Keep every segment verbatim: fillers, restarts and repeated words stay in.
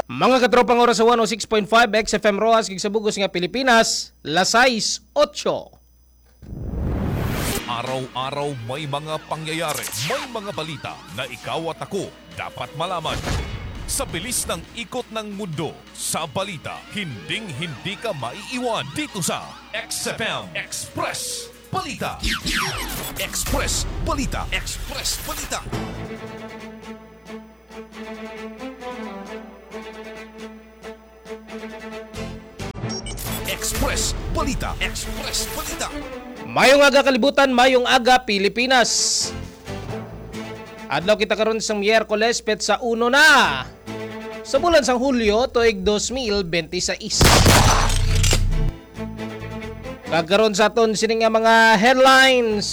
Mga katropang oras sa one oh six point five X F M Roxas, kag sa bug-os nga Pilipinas, las sais otso. Araw-araw may mga pangyayari, may mga balita na ikaw at ako dapat malaman. Sa bilis ng ikot ng mundo, sa balita, hinding-hindi ka maiiwan dito sa X F M Express Balita. Express Balita. Express Balita. Express Balita. Express Balita. Mayong aga, kalibutan, mayong aga, Pilipinas. Adlaw kita karon sa Miyerkules, petsa uno na sa bulan sang Hulyo, tuig dos mil benti sais. Kag karon sa aton sini nga mga headlines.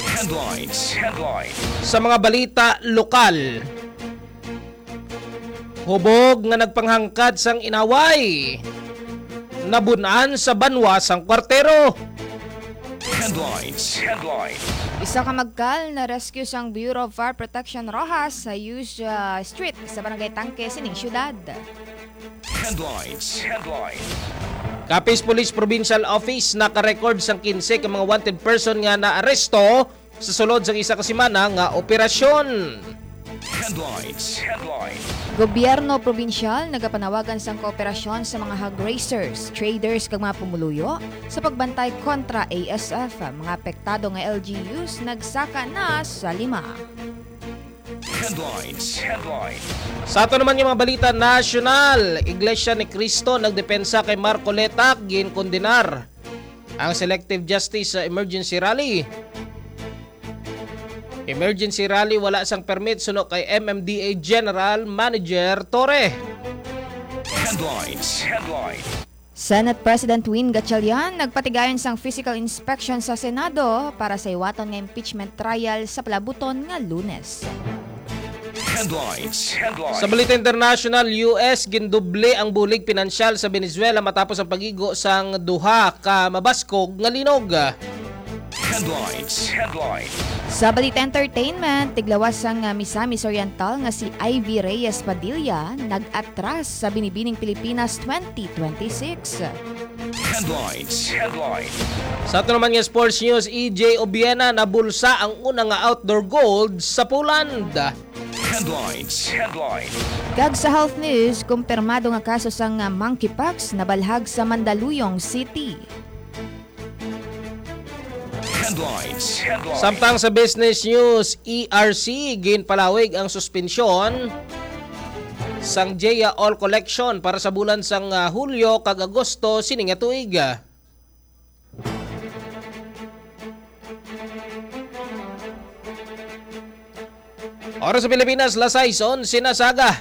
Headlines. Headlines. Sa mga balita lokal, hubog nga nagpanghangkat sang inaway, nabun-an sa banwa sang kwartero. Headlines. Headlines. Isa ka magkal na-rescue sang Bureau of Fire Protection Roxas sa Hughes, ah, Street sa Barangay Tangke sining syudad. Headlines. Headlines. Capiz Police Provincial Office naka-record sang kinse ka mga wanted person nga naaresto sa sulod sang isa ka semana nga operasyon. Headlines. Headlines. Gobyerno probinsyal nagapanawagan sang kooperasyon sa mga hog raisers, traders, kag mga pumuluyo sa pagbantay kontra A S F. Mga apektado nga L G Us nagsaka na sa lima. Headlines. Headlines. Sa ato naman nga mga balita nasyonal, Iglesia ni Cristo nagdepensa kay Marcoleta, ginkondenar ang selective justice sa emergency rally. Emergency rally, wala sang permit, suno kay M M D A General Manager Torre. Headlines. Headlines. Senate President Win Gatchalian nagpatigayon sang physical inspection sa Senado para sa hiwaton nga impeachment trial sa palabuton nga Lunes. Headlines. Headlines. Sa balita international, U S gindoble ang bulig pinansyal sa Venezuela matapos ang pag-igo sang duha ka mabaskog nga linog. Headlines. Headlines. Sa balita entertainment, tiglawas sang, ah, Misamis Oriental nga si Ivy Reyes Padilla nag-atras sa Binibining Pilipinas twenty twenty-six. Headlines. Headlines. Sa ato naman nga sports news, E J Obiena nabulsa ang una nga outdoor gold sa Poland. Headlines. Headlines. Kag sa health news, kumpirmado nga kaso sang, ah, monkeypox nabalhag sa Mandaluyong City. Headlines. Headlines. Samtang sa business news, E R C, ginpalawig ang suspensyon sang J A All Collection para sa bulan sang, ah, Hulyo kag Agosto sini nga tuig. Oras sa Pilipinas, las sais onse na sa aga.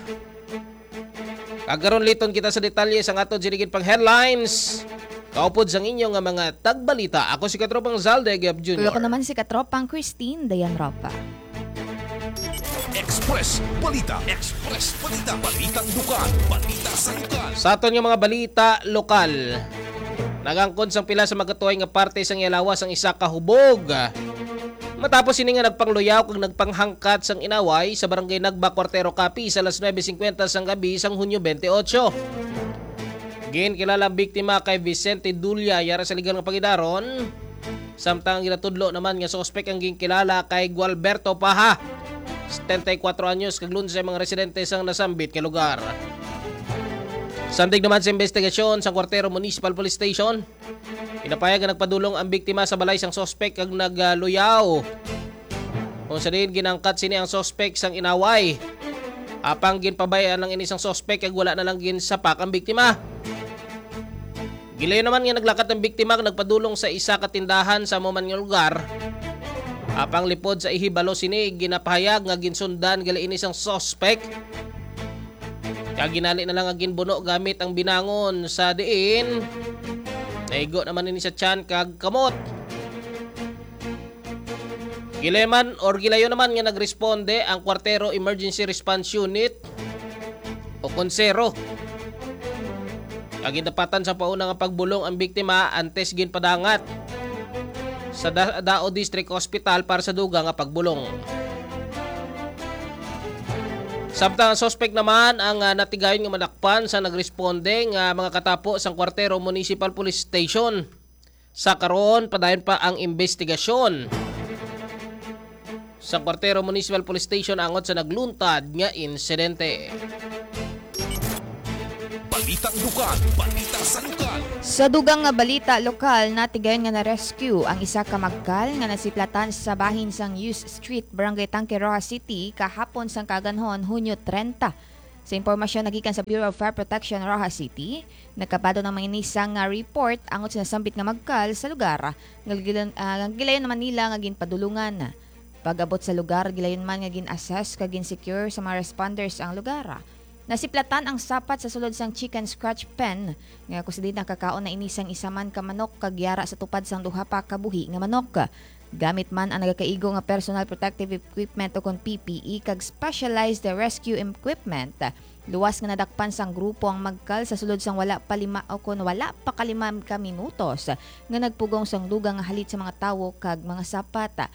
Kag karon liton kita sa detalye sang aton sinigit pang headlines. Kaupod sang inyo nga mga tagbalita, ako si Katropang Zalde Gab Junior. Kag ako naman si Katropang Christine Dayan Ropa. Express Balita. Express Balita. Balitang lokal. Balita sa lokal. Sa aton nga mga balita lokal, nagangkon sang pila sa magatuhay nga parte sang iya lawas ang isa ka hubog. Matapos ini nga nagpangluyaw kag nagpanghangkat sang inaway sa Barangay Nagba, Cuartero, Capiz, alas nuebe singkwenta sang gabi sang Hunyo twenty-eight. Ginkilala ang biktima kay Vicente Dulia, yara sa legal nga pangidaron. Samtang ang ginatudlo naman nga suspek ang ginkilala kay Gualberto Paha, setenta y cuatro anyos, kag lunse ang mga residente sang nasambit nga lugar. Sandig naman sa investigasyon sa Cuartero Municipal Police Station, ginapahayag nga nagpadulong ang biktima sa balay sang suspek kag nagluyaw. Kung sa diin ginangkat sini ang suspek sang inaway. Apang ginpabay-an lang ini sang suspek kag wala na lang ginsapak ang biktima. Gilayon naman nga naglakat ang biktima kag nagpadulong sa isa ka tindahan sa amo man nga lugar. Apang lipod sa ihibalo sini, ginapahayag nga ginsundan gali ini sang suspek. Kag ginali na lang nga ginbuno gamit ang binangon sa diin naigo naman ini sa tiyan kag kamot. Gileman or gilayo naman nga nagresponde ang Cuartero Emergency Response Unit o Konsero. Ang gindapatan sa pauna nga pagbulong ang biktima antes ginpadangat sa Da-, Dao District Hospital para sa dugang nga pagbulong. Samtang ang suspek naman ang, ah, natigayon nga madakpan sa nagresponde nga mga katapo sang Cuartero Municipal Police Station. Sa karon, padayon pa ang imbestigasyon sa Cuartero Municipal Police Station angot sa nagluntad nga insidente. Balitang lokal, balita sa lokal. Sa dugang nga balita lokal, natigayon nga na-rescue ang isa ka magkal nga nasiplatan sa bahin sang Hughes Street, Barangay Tanque, Roxas City, kahapon sang kaaganhon, Hunyo treinta. Sa impormasyon nagikan sa Bureau of Fire Protection, Roxas City, nagkabado ang mga ini sang, ah, report angot sa nasambit nga magkal sa lugar, nga gilan-, ah, gilayon naman nila nga ginpadulungan. Pag-abot sa lugar, gilayon man nga gin-assess kag gin-secure sa mga responders ang lugar. Nasiplatan ang sapat sa sulod sang chicken scratch pen, nga kundi nakakaon na ini sang isa man ka manok kag yara sa tupad sang duha pa ka buhi nga manok. Gamit man ang nagakaigo nga personal protective equipment ukon P P E kag specialized rescue equipment, luwas nga nadakpan sang grupo ang magkal sa sulod sang wala pa lima ukon wala pa ka lima ka minutos nga nagpugong sang dugang nga halit sa mga tawo kag mga sapat.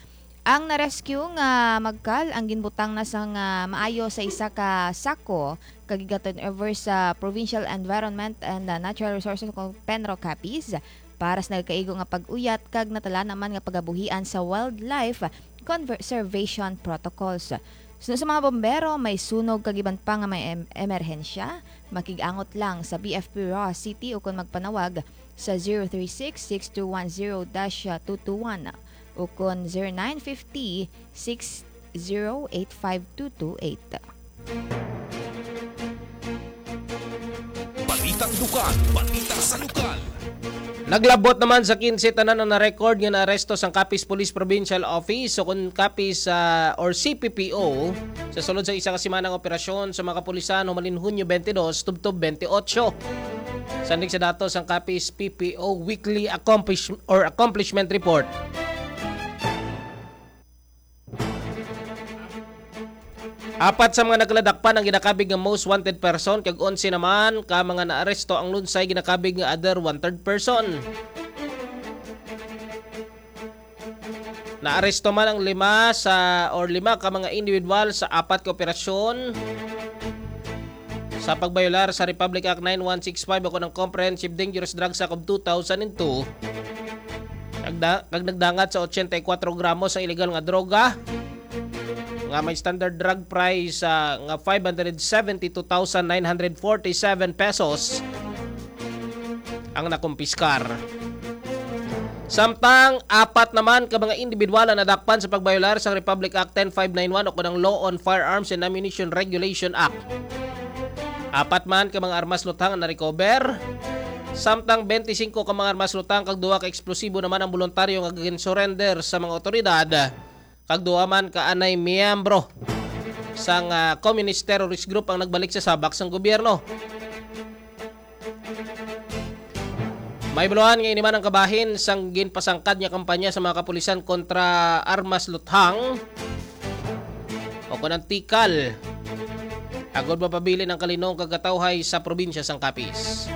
Ang na-rescue nga magkal ang ginbutang na sang, ah, maayo sa isa ka sako kag giga-turn over sa Provincial Environment and, ah, Natural Resources o PENRO Capiz para sa nagakaigo nga pag-uyat kag natala naman nga pagabuhian sa wildlife conservation protocols. Suno sa mga bombero, may sunog kag iban pa nga may em-, emerhensya, makig-angot lang sa B F P Roxas City ukon magpanawag sa zero three six, six two one zero dash two two one ukon zero nine fifty, six zero eight five two two eight. Balitang lokal, balita sa lokal. Naglabot naman sa quince tanan ang na-record nga naaresto sang Capiz Police Provincial Office o kon Capiz, ah, or C P P O sa sulod sa isa ka semana nga operasyon sa mga kapulisan humalin Hunyo twenty-two tubtob twenty-eight. Sandig sa datos sang Capiz P P O Weekly Accomplish-, or Accomplishment Report. Apat sa mga nagkaladakpan ang ginakabig nga most wanted person, kag onse naman ka mga naaresto ang lunsay ginakabig nga other wanted person. Naaresto man ang lima sa, or lima ka mga individual sa apat ka operasyon sa pagbayolar sa Republic Act nine one six five o kon ang Comprehensive Dangerous Drugs Act of two thousand and two, nagda-, kag nagdangat sa ochenta y cuatro gramos sa illegal nga droga nga may standard drug price, ah, nga five hundred seventy-two thousand nine hundred forty-seven pesos ang nakumpiskar. Samtang apat naman ka mga individual ang nadakpan sa pagbayolar sa Republic Act ten five nine one o kon ang Law on Firearms and Ammunition Regulation Act. Apat man ka mga armas luthang ang na-recover, samtang twenty-five ka mga armas luthang kag duha ka eksplosibo naman ang boluntaryo nga gin-surrender sa mga otoridad, kag duha man ka anay miyembro sang, ah, Communist Terrorist Group ang nagbalik sa sabak sang gobyerno. Mahibaluan nga ini man ang kabahin sang ginpasangkad nga kampanya sa mga kapulisan kontra armas luthang o kon ang tikal, agod mapabilin ang kalinong kag katawhay sa probinsya sang Capiz.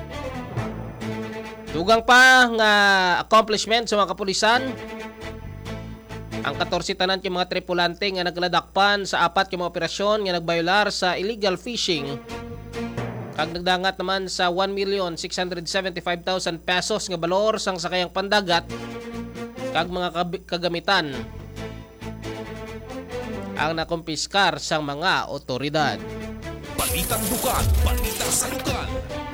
Dugang pa nga accomplishment sa mga kapulisan, ang katorse tanan ka mga tripulante nga nagladakpan sa apat ka mga operasyon nga nagbayolar sa illegal fishing, kag nagdangat naman sa one million six hundred seventy-five thousand pesos nga balor sang sakayang pandagat kag mga kab-, kagamitan ang nakumpiskar sang mga otoridad. Balitang lokal, balita sa lokal.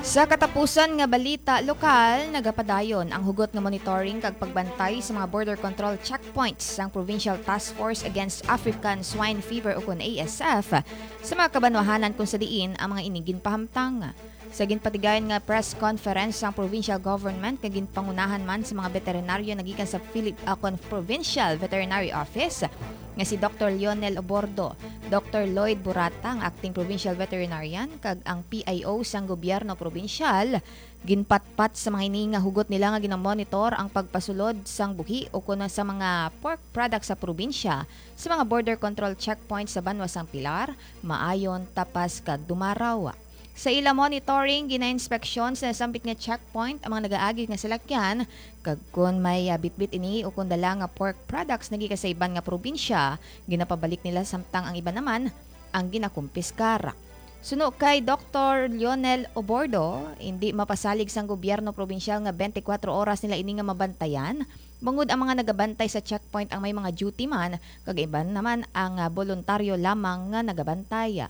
Sa katapusan nga balita lokal, nagapadayon ang hugot nga monitoring kag pagbantay sa mga border control checkpoints sang Provincial Task Force Against African Swine Fever ukon A S F sa mga kabanwahanan kung sa diin ang mga ini ginpahamtang. Sa ginpatigayon nga press conference sang provincial government nga ginpangunahan man sa mga veterinaryo nagikan sa Philip Acon Provincial Veterinary Office nga si Doktor Lionel Obordo, Doktor Lloyd Burata, ang acting provincial veterinarian, kag ang P I O sang gobyerno probinsyal, ginpatpat sa mga ini nga hugot nila nga ginamonitor ang pagpasulod sang buhi o kon sa mga pork products sa probinsya sa mga border control checkpoints sa banwa sang Pilar, Maayon, Tapas, kag Dumaraw. Sa ila monitoring, ginainspeksyon sa nasambit nga checkpoint ang mga nagaagi nga salakyan, kag kon may, ah, bitbit ini o kon dala nga pork products nagikan sa iban nga probinsya, ginapabalik nila, samtang ang iban naman ang ginakumpiskar. Suno kay Doktor Lionel Obordo, hindi mapasalig sang gobyerno probinsyal nga twenty-four oras nila ini nga mabantayan, bangod ang mga nagabantay sa checkpoint ang may mga duty man, kag iban naman ang, ah, boluntaryo lamang nga nagabantay.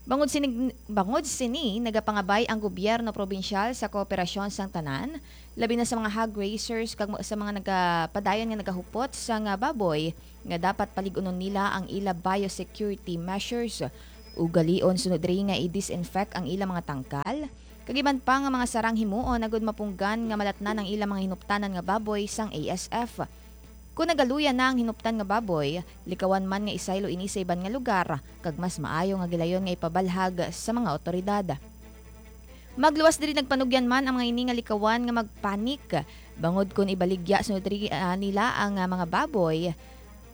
Bangod sini, bangod sini, nagapangabay ang gobyerno probinsyal sa kooperasyon sang tanan, labi na sa mga hog raisers kag mo-, sa mga nagapadayon nga nagahupot sang baboy, nga dapat palig-unon nila ang ila biosecurity measures. Ugalion sunod diri nga i-disinfect ang ila mga tangkal, kag iban pa nga mga sarang himuon agud mapunggan nga malatnan ang ila mga hinuptanan nga baboy sang A S F. Kon nagaluya na ang hinuptan nga baboy, likawan man nga isaylo ini sa iban nga lugar, kag mas maayo nga gilayon nga ipabalhag sa mga awtoridad. Magluwas diri nagpanugyan man ang mga ini nga likawan nga magpanik, bangod kon ibaligya sunod diri, ah, nila ang, ah, mga baboy.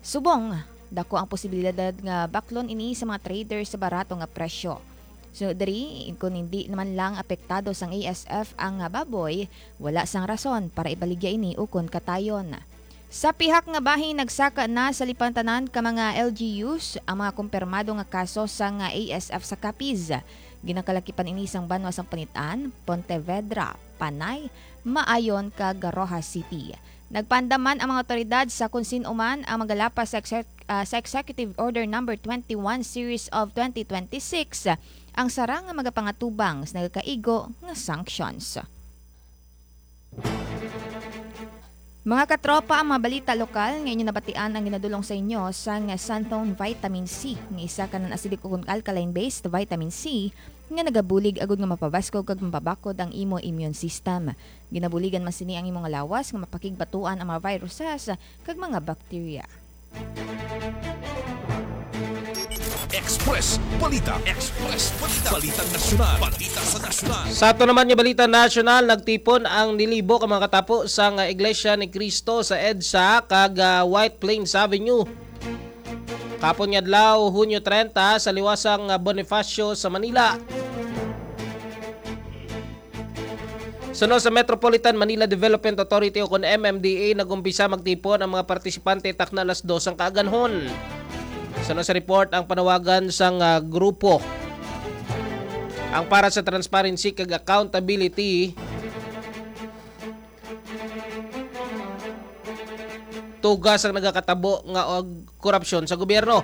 Subong, dako ang posibilidad nga baklon ini sa mga trader sa barato nga presyo. Sunod diri, kon hindi naman lang apektado sang A S F ang, ah, baboy, wala sang rason para ibaligya ini ukon katayon. Sa pihak nga bahin, nagsaka na sa lipantanan ka mga L G Us ang mga kumpirmado nga kaso sang A S F sa Capiz. Ginakalakipan ini sang banwa sang Panitan, Pontevedra, Panay, Maayon, kag Roxas City. Nagpaandam man ang mga awtoridad sa kon sin-o man ang magalapas sa exec-, ah, sa Executive Order Number twenty-one Series of twenty twenty-six, ang sarang nga magapangatubang sa nagakaigo nga sanctions. Mga katropa, ang mga balita lokal nga inyo nabatian ang ginadulong sa inyo sang Santhone Vitamin C, nga isa ka non-acidic ukon alkaline-based vitamin C nga nagabulig agud nga mapabaskog kag mapabakod ang imo immune system. Ginabuligan man sini ang imo nga lawas nga mapakigbatuan ang mga viruses kag mga bakterya. Express Balita. Express Balita. Balitang nasyonal. Balita sa nasyonal. Sa ato naman nga balita nasyonal, nagtipon ang nilibo ka mga katapo sang Iglesia ni Cristo sa EDSA kag, ah, White Plains Avenue. Kapon nga adlaw, Hunyo trenta, sa liwasang, ah, Bonifacio sa Manila. Suno sa Metropolitan Manila Development Authority o kon M M D A, nag-umpisa magtipon ang mga partisipante takna alas dos sang kaaganhon. Suno sa report, ang panawagan sang, ah, grupo, ang para sa transparency kag accountability, tuga sang nagakatabo nga og korupsyon sa gobyerno.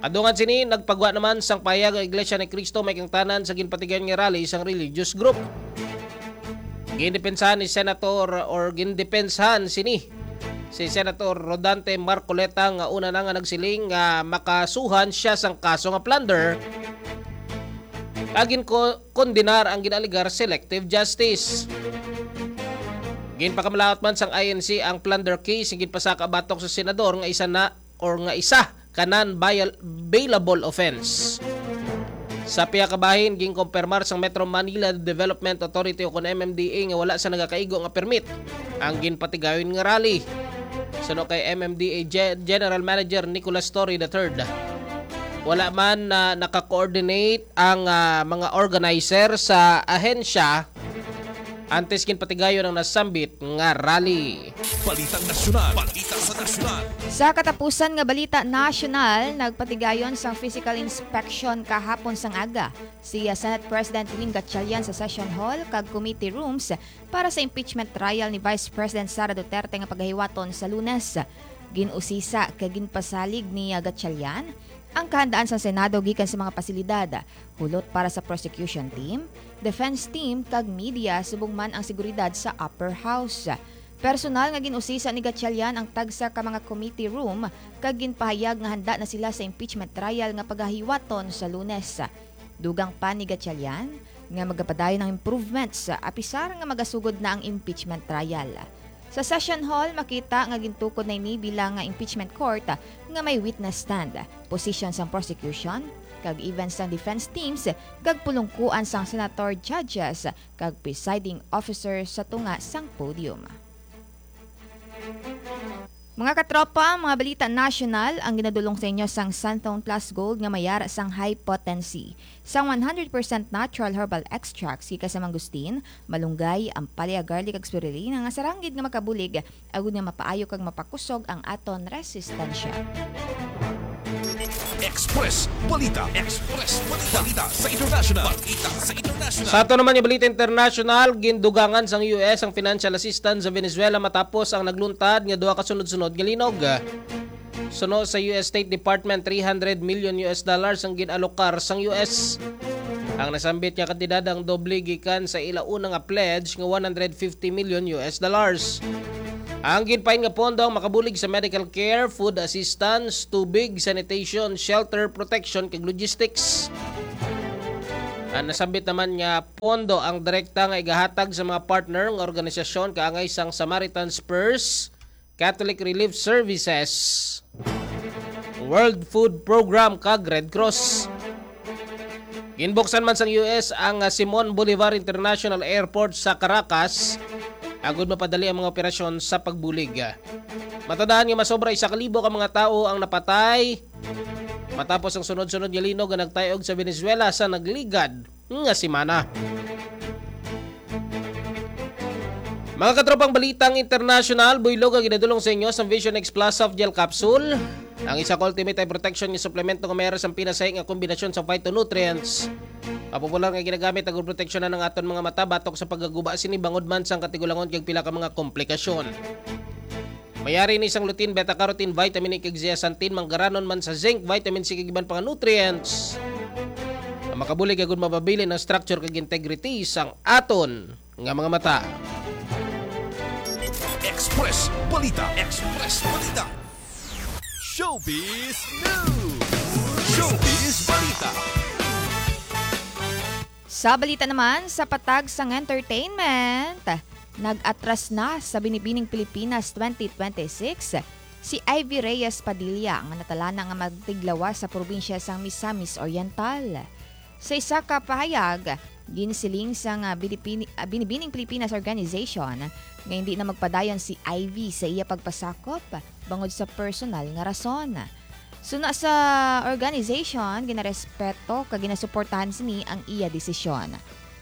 Kadungan sini, nagpagwa naman sang pahayag ang Iglesia ni Cristo may kangtanan sa ginpatigayon nga rally sang religious group. Gindepensahan ni Senator or gindepensahan sini si Senator Rodante Marcoleta nga una na nga nagsiling nga makasuhan siya sang kaso nga plunder kag ginko-, kondenar ang ginaaligar selective justice. Ginpakamalaut man sang I N C ang plunder case nga ginpasaka batok sa senador nga isa na or nga isa ka non-bail-, bailable offense. Sa pihak ka bahin, ginkumpirmar sang Metro Manila Development Authority o kon M M D A nga wala sa nagakaigo nga permit ang ginpatigayon nga rally. Suno kay M M D A Ge-, General Manager Nicolas Torre the third, wala man na naka-coordinate ang, ah, mga organizer sa ahensya antes ginpatigayon ang nasambit nga rally. Balitang nasyonal, balita sa nasyonal. Sa katapusan nga balita nasyonal, nagpatigayon sang physical inspection kahapon sang aga si, ah, Senate President Ding Gatchalian sa session hall kag committee rooms para sa impeachment trial ni Vice President Sara Duterte nga pagahiwaton sa Lunes. Gin-usisa kag ginpasalig ni, ah, Gatchalian ang kahandaan sang Senado gikan sa mga pasilidad, hulot para sa prosecution team, defense team, kag media, subong man ang seguridad sa upper house. Personal nga gin-usisa ni Gatchalian ang tagsa ka mga committee room kag ginpahayag nga handa na sila sa impeachment trial nga pagahiwaton sa Lunes. Dugang pa ni Gatchalian nga magapadayon ang improvements, apisar nga magasugod na ang impeachment trial. Sa session hall, makita nga gintukod na ini bilang nga impeachment court nga may witness stand, position sang prosecution, kag even sang defense teams, kag pulungkuan sang senator, judges, kag presiding officer sa tunga sang podium. Mga katropa, mga balita nasyonal ang ginadulong sa inyo sang Santhone Plus Gold nga may yara sang high potency. Sang one hundred percent natural herbal extracts gikan sa mangustin, malunggay, ampalaya, garlic, kag spirulina nga sarang gid nga makabulig agud nga mapaayo kag mapakusog ang aton resistensya. Express Balita. Express Balita. Balita sa international. Balita sa international. Sa ato naman nga balita international, gindugangan sang U S ang financial assistance sa Venezuela matapos ang nagluntad nga duha ka sunod-sunod nga linog. Suno sa U S State Department, three hundred million U S dollars ang gin-alokar sang U S. Ang nasambit nga kantidad ang doble gikan sa ila una nga pledge nga one hundred fifty million U S dollars. Ang ginpain nga pondo ang makabulig sa medical care, food assistance, tubig, sanitation, shelter, protection, kag logistics. Ang nasambit naman nga pondo ang direkta nga igahatag sa mga partner nga organisasyon kaangay sang Samaritan's Purse, Catholic Relief Services, World Food Program, kag Red Cross. Ginbuksan man sang U S ang, ah, Simon Bolivar International Airport sa Caracas agud mapadali ang mga operasyon sa pagbulig. Matandaan nga masobra isa ka libo ka mga tawo ang napatay matapos ang sunod-sunod nga linog nga nagtayog sa Venezuela sa nagligad nga semana. Mga katropang balitang international, buylog ang ginadulong sa inyo sang Vision X Plus Soft Gel Capsule. Ang isa ka ultimate eye protection nga suplemento nga may ara sang pinasahi nga kombinasyon sa phytonutrients. Mapopular nga ginagamit ang proteksyonan ang aton mga mata batok sa pagkaguba sini bangod man sang katigulangon kag pila ka mga komplikasyon. Mayari ni sang lutein, beta-carotene, vitamin E kag zeaxanthin, manggaranon man sa zinc, vitamin C kag iban pa nga nutrients. Ang makabulig agud mapabilin ang structure kag integrity sang aton nga mga mata. Express Balita. Express Balita. Showbiz News. Showbiz Balita. Sa balita naman, sa patag sang entertainment, nag-atras na sa Binibining Pilipinas twenty twenty-six si Ivy Reyes Padilla nga natalana nga magtiglawas sa probinsya sang Misamis Oriental. Sa isa ka pahayag, ginsiling sang, ah, Binipini-, ah, Binibining Pilipinas Organization nga hindi na magpadayon si Ivy sa iya pagpasakop bangod sa personal nga rason. Suna sa organization, ginarespeto kag ginasuportahan sini ang iya desisyon.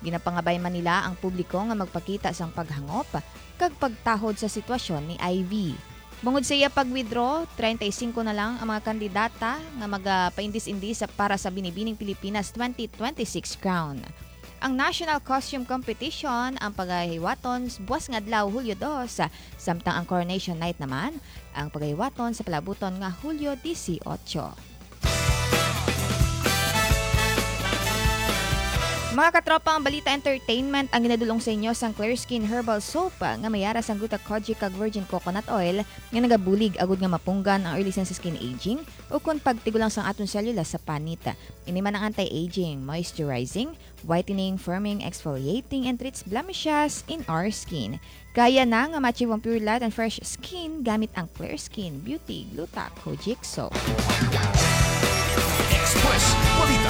Ginapangabay man nila ang publiko nga magpakita sang paghangop kag pagtahod sa sitwasyon ni Ivy. Bangod sa iya pag-withdraw, treinta y cinco na lang ang mga kandidata nga magapaindis-indis sa, para sa Binibining Pilipinas twenty twenty-six crown. Ang National Costume Competition ang pagahiwaton s-, buwas nga adlaw, Hulyo dos, samtang ang Coronation Night naman ang pagahiwaton sa palabuton nga Hulyo dieciocho. Mga katropa, ang balita entertainment ang ginadulong sa inyo sang Clear Skin Herbal Soap nga may ara sang gluta kojic kag virgin coconut oil nga nagabulig agud nga mapunggan ang early signs sa skin aging ukon pagtigulang sang aton selula sa panit. Ini man ang anti-aging, moisturizing, whitening, firming, exfoliating, and treats blemishes in our skin. Kaya na nga ma-achieve ang pure light and fresh skin gamit ang Clear Skin Beauty Gluta Kojic Soap. Express Balita.